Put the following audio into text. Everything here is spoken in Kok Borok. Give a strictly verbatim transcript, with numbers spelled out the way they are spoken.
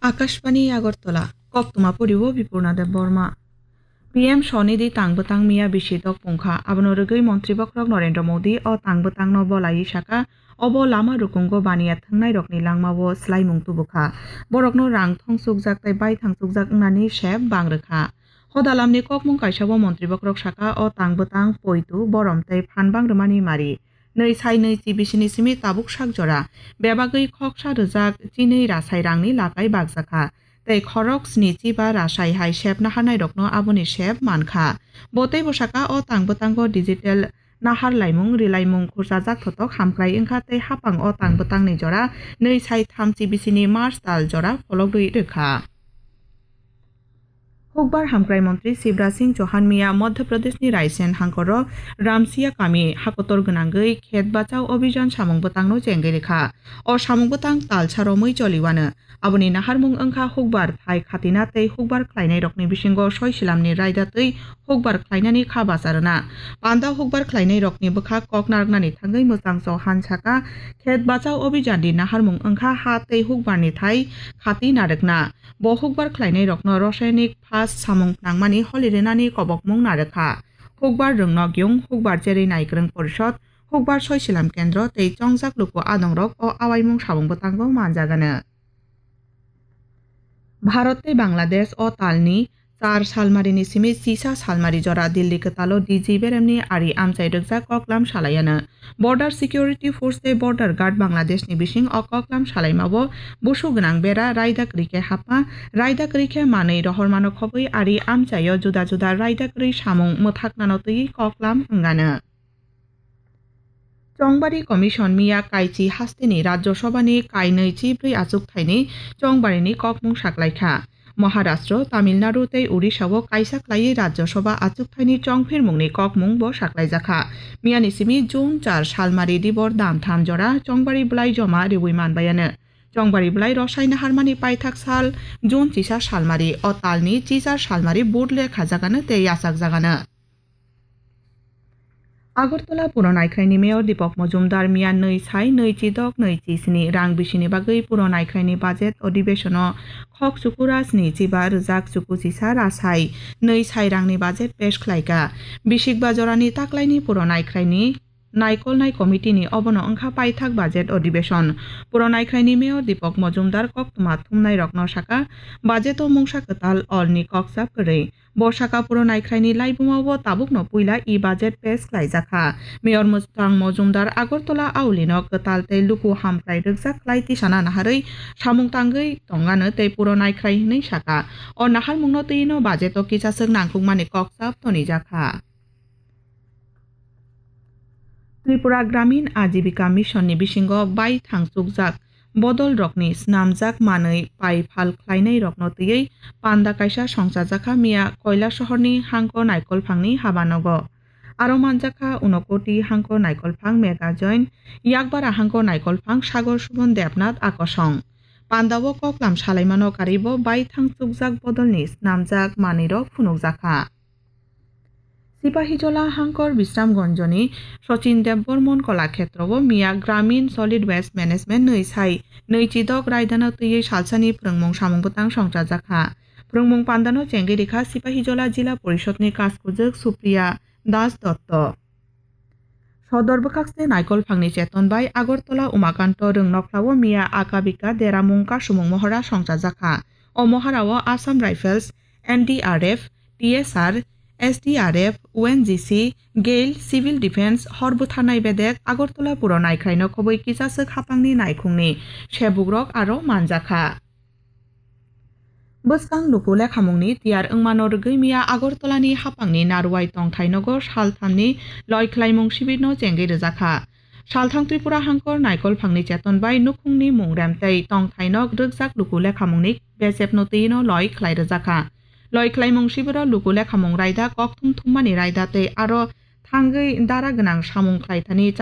Akashbani Agartala, koktwma poriwo Bipurna Debbarma. P M Swanidhi tang bwtang miya bisi dok pungkha, abono rwgwi Montri Bokhorok Narendra Modi o tang bwtangno bolaiwi saka, obo lama rukungo baniya thwngnairokni langmao swlaimung tubukha. Borokno rang thongsukjak tei baithang chukjak wngnani sep bang rwkha. Hodalamni kokmung kaisao Montri Bokhorok saka, o tang bwtang poitu, borom tei phan bang rwmani mari. Nwi sai nwi chi bisini simi tabuk sak jora bebagwi khoksa rwjak chinwi rasai rangni lakai bakjakha. Tei khorok sni chi ba rasai hai sep naharnairokno aboni sep mankha. Bo tei bwsaka o tang bwtango digital nahar laimung rilaimung khurchajak thotok hamkrai wngkha tei hapang o tang bwtangni jora nwi sai tham chi bisini March tal jora phologwi rwkha. Hukbar hamkrai montri Shivraj Singh Chauhan miya Madhya Pradeshni Raisen hangkoro Ramsiya kami hakotor gwnangwi khet bachao obhijan samung bwtangno chengwi rwkha. O samung bwtang talsa romwi choliwano. Aboni naharmung wngkha hukbar thai khatina tei hukbar khlainairokni bisingo soi silamni raida twi hukbar khlainani kha bacha rwna. Panda hukbar khlainairokni bwkha kok narwknani thangwi mwchang Chauhan saka, khet bachao obhijandi naharmung wngkha ha tei hukbarni thai khati narwkna. Bo hukbar khlainairokno rasayanik phas samung nangmani holi rwnani kobokmung narwkha. Hukbar rwngnok yung, hukbar cherwi naikwrwng porishod, hukbar soi silam kendro tei chongjak luku adongrok o awaimung samung bwtango manjagano. Bharat tei Bangladesh o talni char salmarini simi chisa salmari jora Delhi kwtalo D G beremni ari amchai rwkjak koklam salayano. Border Security Force tei Border Guard Bangladeshni bising o koklam salaimao busu gwnang bera raida kwrwi khe hapma, raida kwrwi khe manwi rohormano khobwi ari amchaio juda juda raida kwrwi samung mwthaknano twiwi koklam wngano. Chongbari Commission miya kaichi hasteni Rajya Sabhani kainwi chibrwi achukthaini chongbarini kokmung saklaikha. Maharashtra, Tamil Nadu tei Odisha-o kaisa khlaiwi Rajya Sabha achukthaini chongphirmungni kokmung bo saklaijakha. Miyani simi June char salmari dibor damtham jora chongbari bwlai joma riwi manbayano. Chongbari bwlai rosai naharmani paithak sal June chisa salmari, o talni chichar salmari vote lekha jagano tei yachak jagano. Agartala Puro Naikhraini Mayor Deepak Majumdar miya nwi sai nwi chi dok nwi chi sni rang bisini bagwi Puro Naikhraini budget odibeshono khok chukura sni chiba rwjak chuku chisa rasai nwi sai rangni budget pesh khlaika. Bisikba jorani taklaini Puro Naikhraini naikolnai committee ni obono wngkha paithak budget odibeshon. Puro Naikhraini Mayor Deepak Majumdar koktwma thumnairokno saka, budget o mungsa kwtal orni kokchap kwrwi. Bo saka Puro Naikhraini laibuma o tabukno puila e-budget pass khlaijakha. Mayor Mwchang Mojumdar Agartala aulino kwtal tei luku hamkrai rwkjak khlai tisana naharwi samung tangwi tongano tei Puro Naikhrai hwnwi saka. O naharmungno twino budget o kisaswk nangkukmani kokchap tonijakha. Tripura Gramin Ajibika Mission ni bisingo bai thangchukjak bodol rokni snamjak manwi pai phal khlainai rokno twiwi panda kaisa songchajakha miya Koilasohor ni hangko naikolphang ni habanogo. Aro manjakha Unokoti hangko naikolphang Mega Join, Yakbara hangko naikolphang Sagor Subon Debnath Akosong. Panda o koklam salaimano karibo bai thangchukjak bodol ni snamjak manwi rok phunukjakha. Sipahijola hangkor Bisramganjoni Sachin Debbarman Kolakhetro o miya Gramin Solid Waste Management nwi sai nwi chidok raidano twiwi salsani phrwngmung samung bwtang songchajakha. Phrwngmung pandano chengwi rikha Sipahijola Jila Porishod ni Kaskujwk Supriya Das Dotto. Sodor bwkhakse naikolphangni cheton bai Agartala Umakanto Rwngnokhlao miya Akabika Deramung Kasumung Mohora songchajakha. O mohorao Assam Rifles, N D R F, T S R, S D R F, O N G C, Gail, Civil Defence, hor butharnai bedek Agartala Puro Naikhraino khobwi kisaswk hapangni naikhungni sebukrok aro manjakha. Bwskang luku lekhamungni tiyar wngmano rwgwi miya Agartalani hapangni Naruwai tongthai nogo salthamni loikhlaimung sibirno chengwi rwjakha. Salthang Tripura hangkor naikolphangni cheton bai nukhungni mungrem tei tongthai nok rwkjak luku lekhamungni besepno twino loi khlai rwjakha. Loi khlaimung sibiro luku lekhamung raida kokthum thummani raida tei aro thangwi dara gwnang samung khlaithani